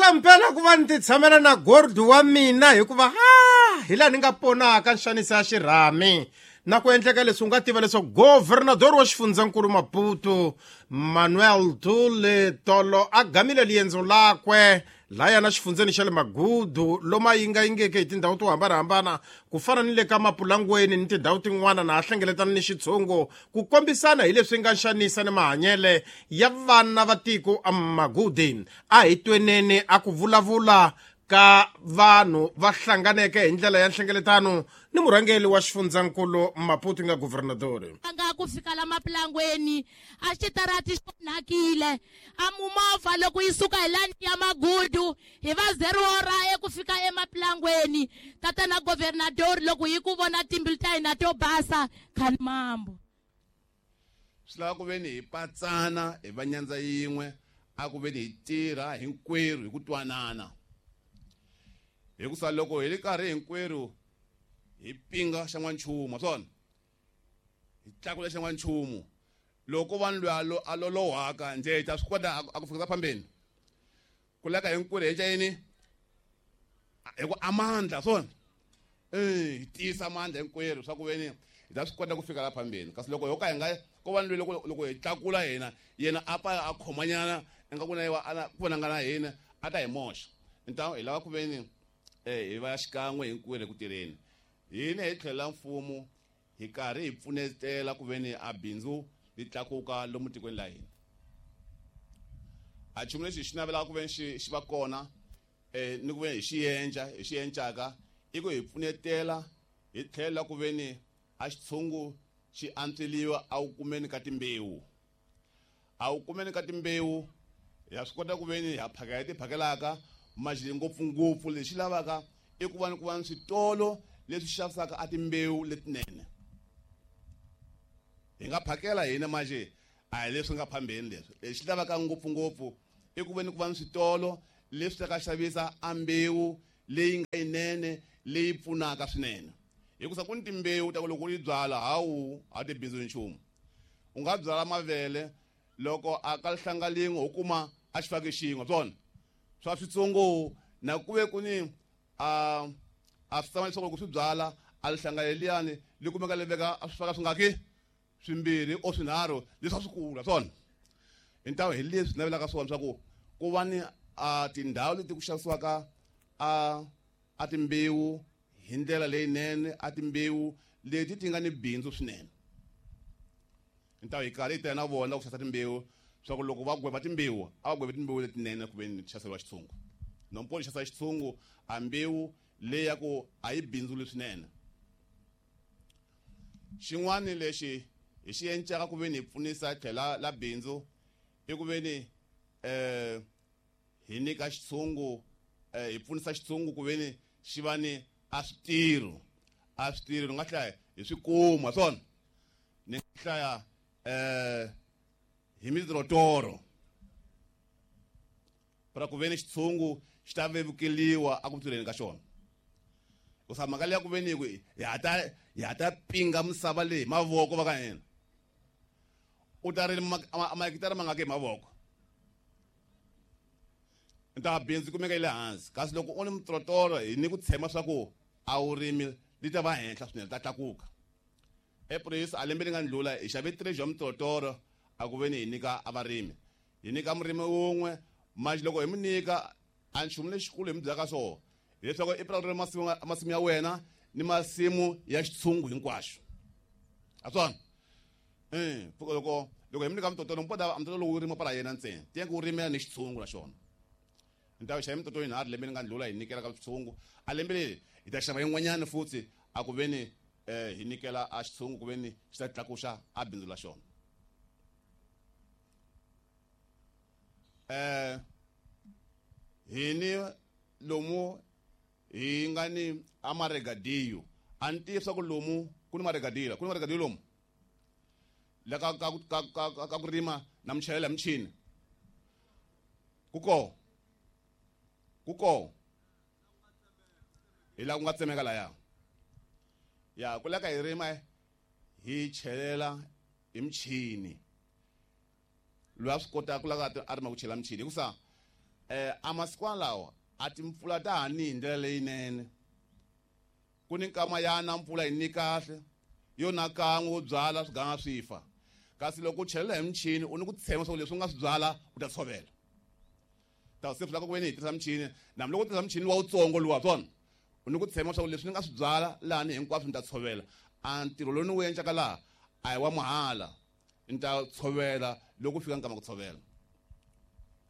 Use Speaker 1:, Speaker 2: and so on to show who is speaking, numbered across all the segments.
Speaker 1: Mpela mpela ku va ni ti tshamela na Gordi wa mina hikuva ha hi laha ni nga ponaka nxaniso ya xirhami na ku endleka leswi u nga tiva leswaku governador wa xifundzankulu Maputo Manuel Dule tolo a gamile liendzo lakwe laya na xifundzeni xa le Magudu lomu a yingayingeke hi tindhawu to hambanahambana ku fana ni le ka Mapulangweni ni tindhawu tin'wana na a hlengeletana ni xitshungu ku kombisana hi leswi nga nxanisa ni mahanyele ya vana va tiko Magudi. A hi tweneni a ku vulavula ka vanhu va hlanganeke hi ndlela ya nhlengeletano ni murhangeri wa xifundzankulu Maputo nga governadori.
Speaker 2: Nga ku fika la Mapulangweni a xitarati xi onhakile a mumovha loko yi suka hi lani ya Magudu hi va zero ra eku fika eMapulangweni. Tatana governadori loko hi ku vona timbilu ta hina to basa khani mambo.
Speaker 3: Swi lava ku veni hi patsana hi va nyandza yin'we a ku veni hi tirha hinkwerhu hi ku twanana. Hikusa loko hi ri karhi hinkwerhu hi pinga xa n'wanchumu swona hi tlakula xa n'wanchumu loko vanhu loyi a lolohaka njhe hi ta swi kota a ku fikisa phambeni ku leka hinkwerhu hi yini hi ku amandla swona hi tiyisa mandla hinkwerhu swa ku veni hi ta swi kota ku fika la phambeni. Kasi loko ho ka hi nga ko va ni loko loko hi tlakula hina yena a pa a khomanyana ingaku na yena ku vonanga na hina a ta hi moxa. Ntamu hi lava ku veni hi va xikan'we hinkwerhu eku tirheni. Hina hi tlhela mfumo hi karhi hi pfunetela ku veni a bindzu li tlakuka lomu tikweni la hina. A nchumu lexi hi xi navelaka ku veni xi va kona ni ku veni hi xi endla hi xi encaka i ku hi pfunetela hi tlhela ku veni a xitshungu xi antsweliwa a wu kumeni ka timbewu. A wu kumeni ka timbewu ya swi kota ku veni ha phakela ti phakelaka mali ngopfungopfu lexi lavaka i ku va ni ku va ni switolo leswi xavisaka a timbewu letinene. Hi nga phakela hina manje a hi leswi nga phambeni leswi. Lexi lavaka ngopfungopfu i ku veni ku va ni switolo leswi ta xavisa a mbewu leyi nga yinene leyi pfunaka swinene. Hikusa ku ni timbewu ta ku loko u yi byala hawu a ti bindzu nchumu. U nga byala mavele loko a ka hlanga lin'we u kuma a xi faki xin'we swona swa switsongo na ku ve ku ni a swi tshama leswaku loko swi byala a lihlanga leliyani li kumeka li veka a swi faka swi nga ki swimbirhi o swinharhu leswi a swi kula swona. Hi ntamu hi leswi navelaka swona swa ku ku va ni a tindhawu leti ku xavisiwaka a timbewu hi ndlela leyinene a timbewu leti ti nga ni bindzu swinene. Ntamu hi karhi hi ta na vona ku xavisa timbewu swa ku loko va gweva timbewu a va gweve timbewu letinene ku veni xaviseriwa xitshungu. Nompo xavisa xitshungu a mbewu leyi ya ku a yi bindzuli swinene. Xin'wana lexi hi xi encaka ku veni hi pfunisa tlhela la bindzu i ku veni hi nyika xitshungu hi pfunisa xitshungu ku veni xi va ni a switirho. A switirho ni nga hlaya hi swi kuma swona ni nga hlaya hi mitirotoro para ku veni xitshungu xi ta vevukeliwa a ku tirheni ka xona. Ku mhaka leya ku veni ku hi ha ta pinga misava leyi hi mavoko va ka hina. U ta rima mahekitara mangaki hi mavoko. Nta bindzu kumeka yi le hansi kasi loko u ni mitirotoro hi ni ku tshemba swa ku a wu rimi li ta va henhla swinene ta tlakuka. Epurasi a lembe li nga ndlula hi xave 3 ya mitirotoro a ku veni hi nyika a varimi. Hi nyika murimi wun'we manje loko hi mu nyika a nchumu lexikulu hi mu byelaka swona hileswaku i purasi ri masimu ya wena ni masimu ya xitshungu hinkwaxo. A swona loko loko hi mu nyika mitoto mpoda mitoto lowu rima para yena ntsena tiya ku rimela ni xitshungu na xona. Ni ta xava mitoto yinharhu lembe li nga ndlula hi nyikela ka xitshungu a lembe leri hi ta xava yin'wanyana futhi a ku veni hi nyikela a xitshungu ku veni xi ta tlakuxa a bindzu la xona. Hi ni lomu hi nga ni a maregadiyo a ni tivi swa ku lomu ku ni maregadiyo ku ni maregadiyo lomu la ka ka ka ka ka ku rima na michayela michini ku ko ku ko hi la ku nga tsemeka laya ya ku leka hi rima hi chelela hi michini loyi a swi kotaka ku lava a rima ku chela michini hikusa. A masiku lawa a timpfula ta ha ni hi ndlela leyinene. Ku ni nkama ya na mpfula yi ni kahle yo na kan'we wo byala swi ganga swi fa, kasi loko u chelela hi michini u ni ku tshemba swa ku leswi u nga swi byala u ta tshovela. Ta se swi lava ku ve ni hi tirhisa michini, na loko u tirhisa michini wa wutsongo luwa swona u ni ku tshemba swa ku leswi ni nga swi byala lahani hinkwaswo ni ta tshovela. A ntirho lowu ni wu endlaka laha a hi wa mahala, ni ta tshovela loko ku fika nkama ku tshovela.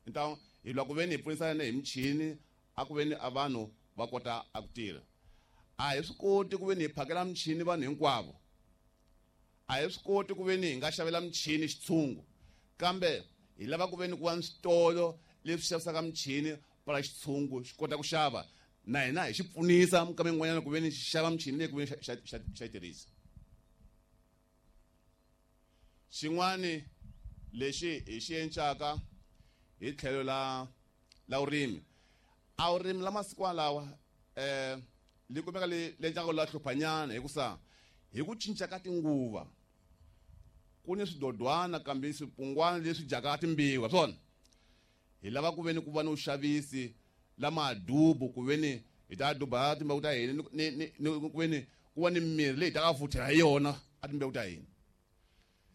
Speaker 3: Ni ta hi lwa ku ve ni hi pfunisana hi michini a ku ve ni a vanhu va kota a ku tirha. A hi swi koti ku ve ni hi phakela michini vanhu hinkwavo, a hi swi koti ku ve ni hi nga xavela michini xitshungu, kambe hi lava ku ve ni ku va ni switolo leswi xavisaka michini para xitshungu xi kota ku xava, na hina hi xi pfunisa minkama yin'wanyana ku ve ni xi xava michini leyi ku ve ni xa yi tirhisa. Xin'wani lexi hi xi encaka hi tlhelo la vurimi, a vurimi la masiku lawa li kumeka li endlaka la hluphanyana, hikusa hi ku cinca ka tinguva ku ni swidodwana kambe swipungwana leswi dyaka timbiwa swona. Hi lava ku ve ni ku va ni vuxavisi la madubu, ku ve ni hi ta duba timbewu ta hina ni ku ve ni ku va ni mirhi leyi hi ta ka futhela hi yona a timbewu ta hina.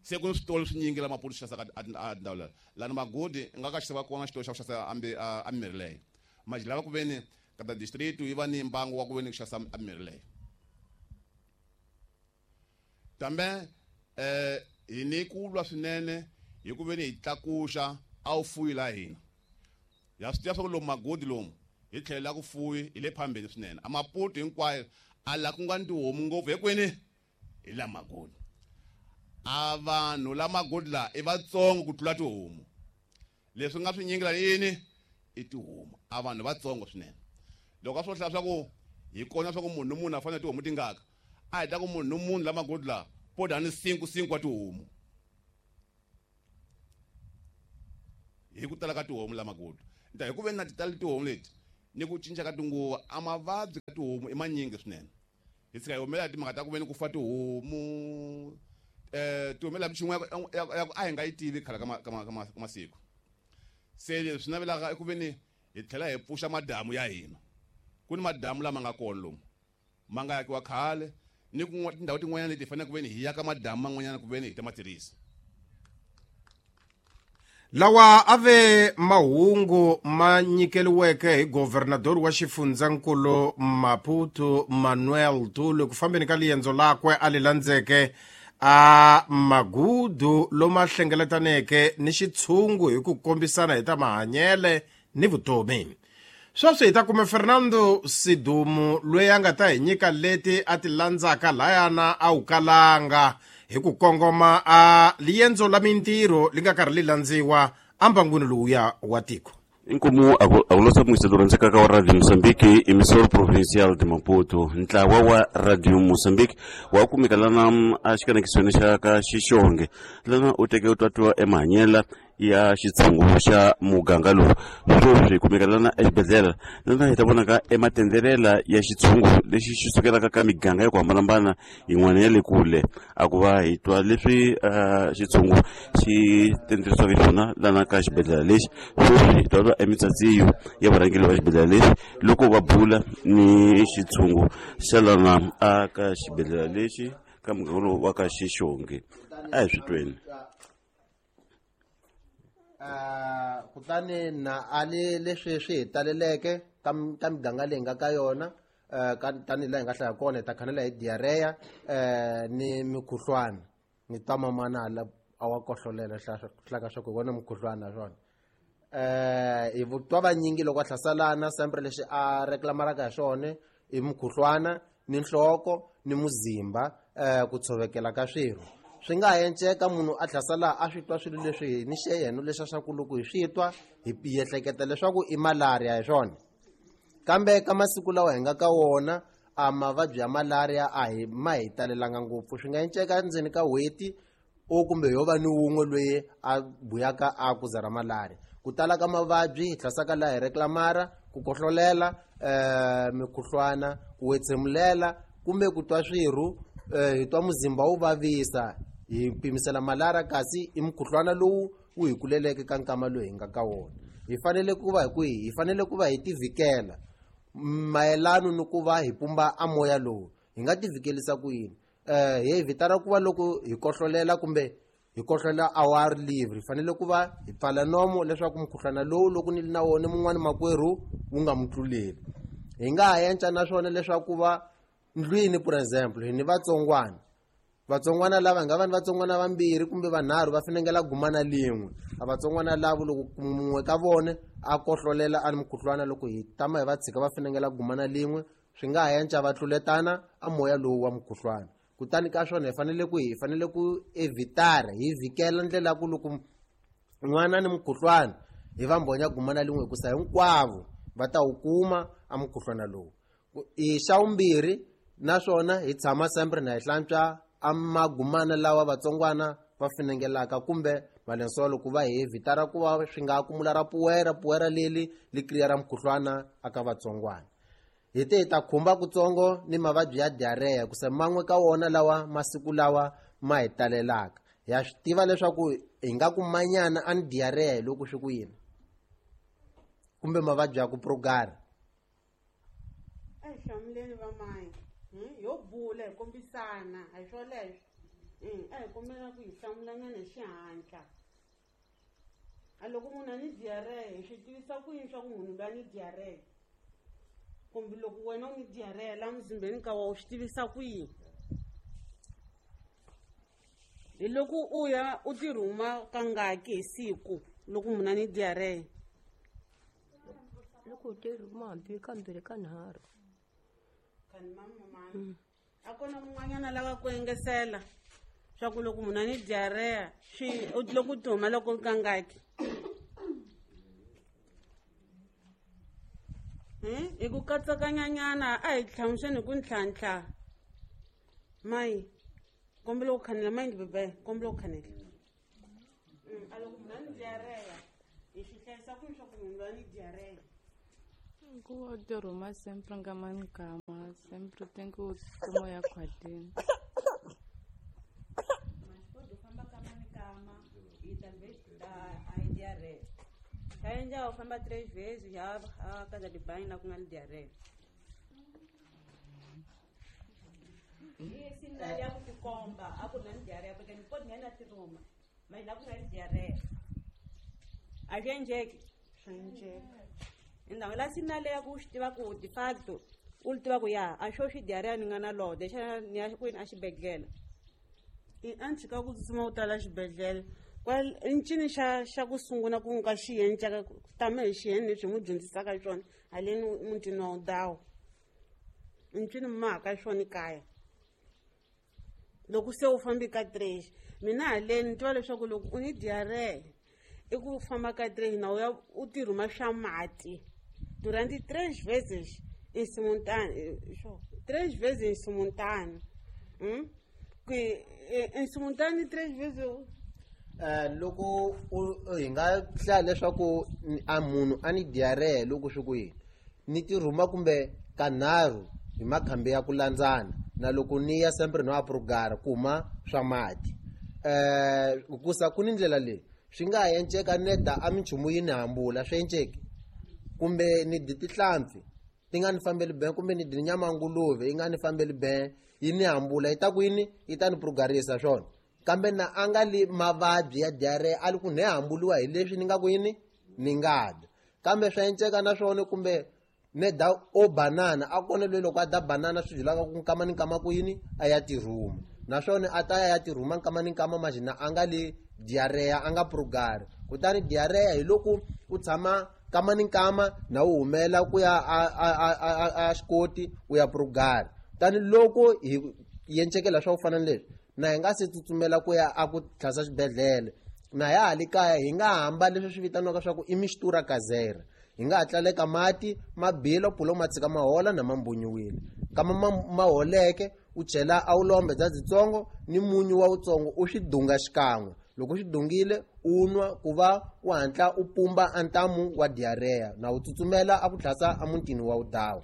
Speaker 3: Se ku ni switolo swinyingi la Maputo swi xavisaka a tindhawu leti lani Magudi nga ka xava kona xitolo xa ku xavisa a mirhi leyo. Manje lava ku ve ni ka district yi va ni mbangu wa ku ve ni ku xavisa a mirhi leyo. Kambe hi ni ku lwa swinene hi ku ve ni hi tlakuxa a wu fuyi la hina. Ya swi tiva swa ku lomu Magudi lomu hi tlhelo la ku fuyi hi le phambeni swinene. A Maputo hinkwayo a la ku nga ni tihomu ngopfu hikwini hi la Magudi. A vanhu la Magudi la i vatsongo ku tlula tihomu. Leswi nga swinyingi la yini i tihomu, a vanhu vatsongo swinene. Loko a swo hlaya swa ku hi kona swa ku munhu ni munhu a fanele tihomu tingaka, a hi ta ku munhu ni munhu la Magudi la po dya ni 5 wa tihomu hi ku tala ka tihomu la Magudi. Nta hi ku ve na ti tali tihomu leti ni ku cinca ka tinguva, a mavabyi ka tihomu i manyingi swinene. Hi tshika hi humelela timhaka ta ku ve ni ku fa tihomu, ti humelela minchumu ya ku a hi nga yi tivi khale ka masiku. Se leswi navelaka i ku ve ni hi tlhela hi pfuxa madamu ya hina. Ku ni madamu lama nga kona lomu ma nga akiwa khale, ni ku tindhawu tin'wanyana leti hi faneleke ku ve ni hi yaka madamu man'wanyana ku ve ni hi ta ma tirhisa.
Speaker 1: Lawa a ve mahungu ma nyikeliweke hi governador wa xifundzankulu Maputo Manuel Tulu ku fambeni ka liendzo lakwe a li landzeke a Magudu loma hlengeletaneke ni xitshungu hi ku kombisana hi ta mahanyele ni vutomi. Sweswi hi ta kuma Fernando Sidumu loyi a nga ta hi nyika leti a ti landzaka layana a wu kalanga hi ku kongoma a liendzo la mintirho li nga karhi li landziwa ambangwini lowuya wa tiko.
Speaker 4: Inkomu akulosa muiselo rhandzekaka wa Radio Mozambique, emissor provincial de Maputo. Ntlawa wa Radio Mozambique wa kumeka lana a xikanekisweni xa ka Xixonge, lana u teke u twatiwa emahanyela ya xitshungu xa muganga lowu. Sweswi hi kumeka lana exibedhlele, lana hi ta vonaka ematendelela ya xitshungu lexi xi sukelaka ka miganga ya ku hambanahambana yin'wana ya le kule, a ku va hi twa leswi xitshungu xi tenderisiwaka xiswona lana ka xibedhlele lexi. Sweswi hi twa twa emitsatsiyo ya varhangeri va xibedhlele lexi loko va bula ni xitshungu xa lana a ka xibedhlele lexi ka muganga lowu wa ka Xixonge. A hi swi tweni.
Speaker 5: Kutani na ali leswi swi hi taleleke ka miganga leyi nga ka yona, tanihi laha hi nga hlaya kona hi ta khanela hi diarrhea ni mikhuhlwana. Ni twa mamana la a wa kohlolela hlaka swa ku hi vona mukhuhlwana swona. Hi twa vanyingi loko a hlaselana sempre lexi a reclamaraka hi swona i mukhuhlwana ni nhloko ni muzimba, ku tshovekela ka swirho. Swi nga ha enceka munhu a hlasela a swi twa swilo leswi ni xe yena leswi swa ku loko hi swi twa hi ehleketa leswaku i malaria hi swona. Kambe ka masiku lawa hi nga ka wona a mavabyi ya malaria a hi ma hi talelanga ngopfu. Swi nga enceka endzeni ka n'hweti o kumbe yo va ni wun'we loyi a buyaka a ku za ra malaria. Ku tala ka mavabyi hi hlasaka laha hi reclamara ku kohlolela, mikhuhlwana, ku wetsemulela kumbe ku twa swirho, hi twa muzimba wu vavisa, hi pimisela malaria kasi i mukhuhlwana lowu wu hi kuleleke ka nkama lowu hi nga ka wona. Hi fanele ku va hi kwihi? Hi fanele ku va hi tivhikela mayelano ni ku va hi pumba a moya lowu. Hi nga tivikelisa ku yini? Hi vitana ku va loko hi kohlolela kumbe hi kohlolela awar live, hi fanele ku va hi pfala nomo leswaku mukhuhlwana lowu loko ni ri na wona mun'wani makwerhu wu nga mu tluleli. Hi nga ha enca naswona leswaku va ndlwini, for example, hi ni vatsongwana. Vatsongwana lava nga va ni vatsongwana vambirhi kumbe vanharhu va finengela gumana lin'we. A vatsongwana lavo loko mun'we ka vona a kohlolela a ni mukhuhlwana, loko hi tama hi va tshika va finengela gumana lin'we, swi nga ha enca va tluletana a moya lowu wa mukhuhlwana. Kutani ka swona hi fanele ku hi fanele ku evitara, hi vhikela ndlela ya ku loko n'wana ni mukhuhlwana hi va mbhonya gumana lin'we, hikusa hinkwavo va ta wu kuma a mukhuhlwana lowu. I xa vumbirhi naswona hi tshama sempre na hi hlantswa a magumana lawa vatsongwana va finengelaka kumbe malensolo, ku va hi evitara ku va swi nga kumula ra puwera, puwera leli li kriya ra mukhuhlwana aka vatsongwana. Hi te hi ta khumba kutsongo ni mavabyi ya diarrhea, hikusa man'we ka wona lawa masiku lawa ma hi talelaka. Ya swi tiva leswaku hi nga ku manyana a ni diarrhea hi loko swi ku yini, kumbe mavabyi ya ku progara.
Speaker 6: A hi hlamuleni vamayi, yo bula hi kombisana, a hi swoleswo. A hi kombela ku hi hlamulanyana hi xihatla. A loko munhu a ni diarrhea, hi swi tivisa ku yini swa ku munhu loyi a ni diarrhea? Kumbe loko wena u ni diarrhea laha muzimbeni ka wa, u swi tivisa ku yini? Hi loko u ya u ti rhuma kangaki hi siku loko munhu a ni diarrhea?
Speaker 7: Loko u ti rhuma hambi kambirhi kanharhu.
Speaker 6: A ku na mun'wanyana lava ku engesela swa ku loko munhu a ni diarrhea swi loko u ti huma loko kangaki? Hi ku katsakanyanyana a hi hlamuseni hi ku ntlhantlha. Mayi, kombela ku khanela mayi bebe, kombela ku khanela. A loko munhu a ni diarrhea, hi swi hlayisa ku swa ku munhu loyi a ni diarrhea?
Speaker 8: Ku va u ti rhuma sempre nkama ni nkama, sempre tem que u tsutsuma ya khwatini.
Speaker 9: U famba kama ni kama, e talvez a diarreia. Já já eu famba 3 vezes, já a casa de banho lá com a diarreia. E sinal ya ku tikomba, a ku na diarreia, porque não pode nem na tiruma, mas lá com a diarreia. A gente
Speaker 6: Swi
Speaker 9: Então, lá sinal ya ku swi tiva ku de facto, u tiva ku ya, a xo xi diarreia ni nga na lo, deixa ni ya kwini a xibedhlele.
Speaker 6: I a ni tshika ku tsutsuma u tala xibedhlele. Kwal i ncini xa ku sungula ku nga xi endlaka tama hi xiyeni leswi hi n'wi dyondzisaka xona haleni mutini wa Udawu? I ncini mi mahaka xona kaya? Loko se u fambi ka 3, mina haleni ni tiva leswaku loko u ni diarrhea i ku famba ka 3 na u ya u ti rhuma swa mati durante 3 vezes em simultâneo, 3 vezes em simultâneo. Que em simultâneo 3 vezes eu
Speaker 5: Loko hi nga hlaya leswaku a munhu a ni diarrhea loko swi ku yini, ni ti rhuma kumbe kanharhu hi makhambi ya ku landzana, na loko ni ya sempre no aprugara ku huma swa mati. Hikusa ku ni ndlela leyi swi nga ha enceka neda a minchumu yi ni hambula, swi enceki, kumbe ni dyi tihlampfi ti nga ni fambeli ben, kumbe ni dyi nyama ya nguluve yi nga ni fambeli ben, yi ni hambula, yi ta ku yini, yi ta ni prugarisa swona. Kambe na a nga li mavabyi ya diarrhea, a li ku ne hambuliwa hi leswi ni nga ku yini, ni nga dya. Kambe swa enceka na swona, kumbe ne da o banana, a kona loyi loko a da banana swi byelaka ku nkama ni nkama ku yini, a ya tirhuma. Naswona a ta ya tirhuma nkama ni nkama, majina a nga li diarrhea, a nga prugari. Kutani diarrhea hi loko u tshama nkama ni nkama na u humela ku ya a xikoti u ya prugari. Kutani loko hi yencekela swa ku fana na leswi, na hi nga se tsutsumela ku ya a ku tlhasa xibedhlele, na ya ha le kaya hi nga hamba leswi swi vitaniwaka swa ku i mistura kazera. Hi nga ha tlaleka mati ma bila, pulo ma tshika ma hola na ma mbunyiwile. Kama ma holeke, u chela a wu lombe bya byitsongo ni munyu wa wutsongo, u swi dunga xikan'we. Loko u swi dungile, u nwa ku va u hatla u pumba a ntamu wa diarrhea, na u tsutsumela a ku tlhasa a mutini wa Udawu.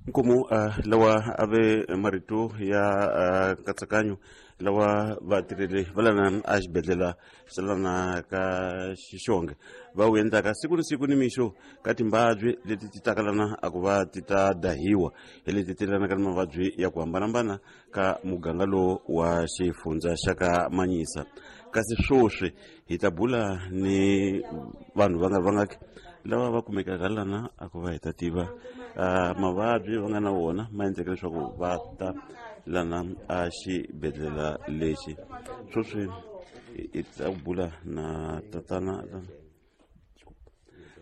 Speaker 4: Nkomu lawa a ve marito ya nkatsakanyo Lawa vatirheli va lana a xibedhlele xa lana ka Xixonge va wu endlaka siku ni siku ni mixo ka timbabyi leti ti taka lana a ku va ti ta dahiwa hi leti ti lanaka ni mavabyi ya ku hambanahambana ka muganga lowu wa xifundza xa ka Manyisa. Kasi swoswi hi ta bula ni vanhu va nga vangaki lava va kumekaka lana a ku va hi ta tiva mavabyi va nga na wona ma endleka leswaku va ta lana a xibedhlele lexi. Swoswi hi ta bula na tatana.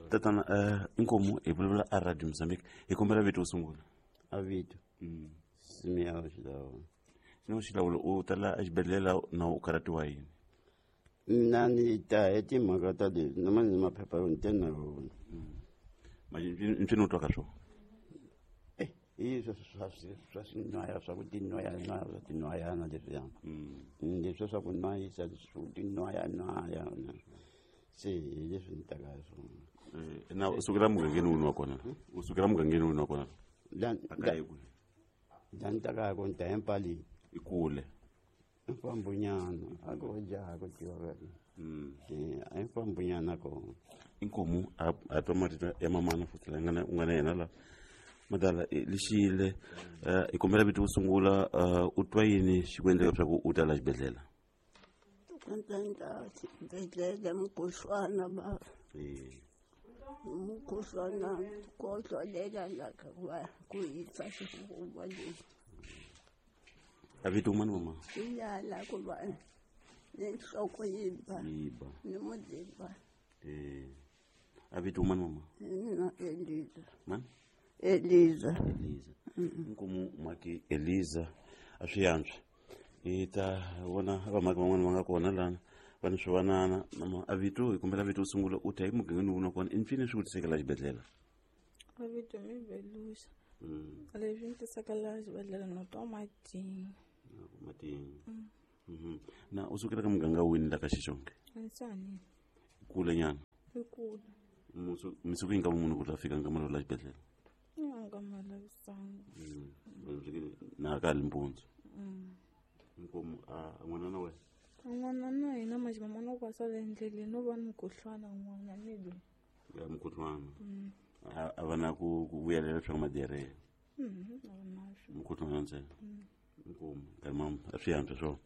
Speaker 4: Tatana, inkomu, hi vulavula a Radio Mozambique, hi kombela vito wo sungula.
Speaker 10: A vito Simeao Xilawulo.
Speaker 4: Simeao Xilawulo, u tala exibedhlele na u karhatiwa yini?
Speaker 10: Mina ni ta hi timhaka ta leswi na mani maphepha yo ni te na wona.
Speaker 4: Ncini u twaka swona?
Speaker 10: Hi swa swinwaya swa ku tinwaya-nwaya swa tinwayana leswiya, leswiya swa ku nwayisa swo tinwaya-nwaya, se hi leswi ni taka hi swona.
Speaker 4: Na u sukela mugangeni wini wa kona? U sukela mugangeni wini wa kona? A kaya kwihi?
Speaker 10: La ni taka hi kona, ni ta eMpaleni.
Speaker 4: I kule?
Speaker 10: I fambonyana a ko jaha ku tiva ka a i fambonyana kona.
Speaker 4: Inkomu, a twa marito ya mamana futhi la nga u nga na yena la madala lexile. Hi kombela vito wo sungula. U twa yini xi ku endleka leswaku u ta la xibedhlele?
Speaker 11: Ndza xibedhlele mukhuhlwana ba, mukhuhlwana kohlolela la ka ku hisa xifuva lexi.
Speaker 4: A vito mani mama?
Speaker 11: Iyala ku va ni nhloko yi ba.
Speaker 4: Yi ba.
Speaker 11: Ni muzimba.
Speaker 4: A vito mani mama?
Speaker 11: Mina Eliza.
Speaker 4: Mani?
Speaker 11: Eliza.
Speaker 4: Eliza. Inkomu maki Eliza, a swi yantswa hi ta vona vamaki van'wana va nga kona lana va ni swivanana. Mama, a vito, hi kombela vito wo sungula, u ta hi mugangeni wuni wa kona, i mpfini swi ku tisekela xibedhlele?
Speaker 8: A vito mi Velusa. Leswi ni tisaka laha xibedhlele no twa matinyo.
Speaker 4: Matinyo. Na u sukela ka muganga wini la ka Xixonge?
Speaker 8: Ansanini.
Speaker 4: Kule nyana?
Speaker 8: I kule.
Speaker 4: Misuku yi nga munhu ku ta fika nkama lowu la xibedhlele?
Speaker 8: Nga malavisanga.
Speaker 4: Na ka li mpundzu? Inkomu. A n'wana na wena?
Speaker 8: N'wana na hina maximama no kwasala endleleni no va ni mukhuhlwana n'wana ni loyi.
Speaker 4: Ya mukhuhlwana. A va na ku vuyelela swa madiarrhea?
Speaker 8: A va na swo.
Speaker 4: Mukhuhlwana ntsena. Inkomu nkarhi ma a swi yantswa swona.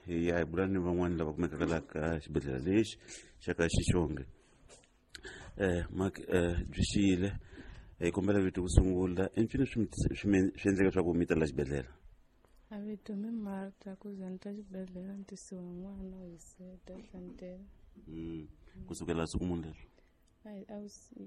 Speaker 4: Hi ya hi bula ni van'wani lava kumekaka la ka xibedhlele lexi xa ka Xixonge. Mark, byi xiyile, hi kombela vito ku sungula, i mpfini swi endleka leswaku mi ta la xibedhlele?
Speaker 8: A vito mi Marta, ku za ni ta xibedhlele ni tisiwa n'wana hi seta hlantela.
Speaker 4: Kusukela siku muni leswi?
Speaker 8: A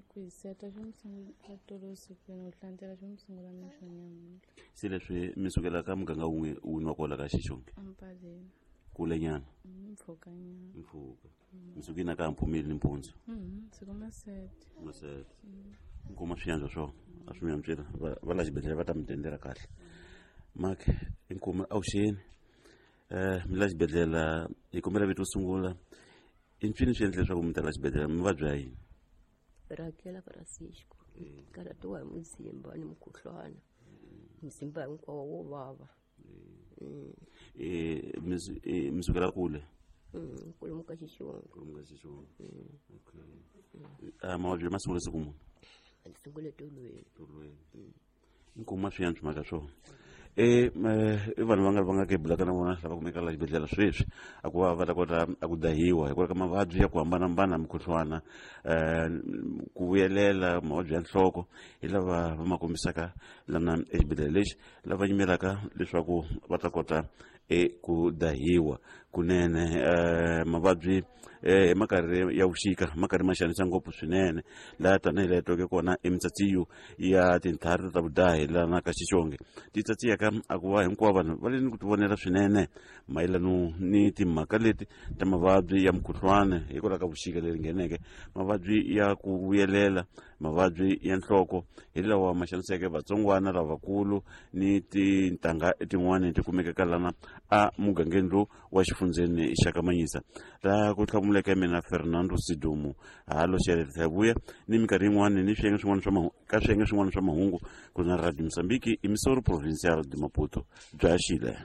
Speaker 8: ku hi seta swi mi sungula tolo vusikwini, ku hlantela swi mi sungula mixo nyamuntlha.
Speaker 4: Se leswi mi sukela ka muganga wun'we wuni wa kwala ka Xixonge?
Speaker 8: Ampaleni.
Speaker 4: Kule nyana?
Speaker 8: Mpfhuka nyana.
Speaker 4: Mpfhuka. Mi suke na ka mphumeli nimpundzu?
Speaker 8: Siku masete.
Speaker 4: Masete. Nkuma swi yantswa swona, a swi mi yantswela va la xibedhlele va ta mi tendela kahle. Mark, inkomu, avuxeni. Mi la xibedhlele, hi kombela vito sungula, i mpfini swi endla leswaku mi ta la xibedhlele, mi vabya yini?
Speaker 7: Rakela Francisco. Karhatiwa hi muzimba ni mukhuhlwana, muzimba hinkwawo wo vava.
Speaker 4: Mi sukela kule?
Speaker 7: Kwalomu ka Xixonge.
Speaker 4: Kwalomu ka Xixonge. Okay. Mavabyi ma sungule siku muni?
Speaker 7: A sungule tolweni.
Speaker 4: Tolweni. Inkomu, swi yantswa mhaka swona. I vanhu va nga ke bulaka na vona lava kumeka la xibedhlele sweswi a ku va va ta kota a ku dahiwa hikwalaho ka mavabyi ya ku hambanahambana, mukhuhlwana, ku vuyelela, mavabyi ya nhloko, hi lava va ma kombisaka lana exibedhlele lexi, lava yimelaka leswaku va ta kota ku dahiwa kunene. Mavabyi hi makarhi ya vuxika ma karhi ma xanisa ngopfu swinene laha, tanihi laha tweke kona emitsatsiyo ya tintlhari ta vudahi lana ka Xixonge ti tsatsiyaka a ku va hinkwavo vanhu va le ni ku tivonela swinene mayelano ni timhaka leti ta mavabyi ya mukhuhlwana hikwalaho ka vuxika leri ngheneke, mavabyi ya ku vuyelela, mavabyi ya nhloko, hi lawa ma xaniseke vatsongwana lavakulu ni tintangha tin'wani ti kumekaka lana a mugangeni lowu wa xifundzeni xa Kamanyisa. Laha ku hlamuleke mina Fernando Sidumu halo xeleta hi vuya ni minkarhi yin'wani ni swiyenge swin'wana swa ka swiyenge swin'wana swa mahungu ku na Radio Mozambique, emissora provincial de Maputo. Bya xile.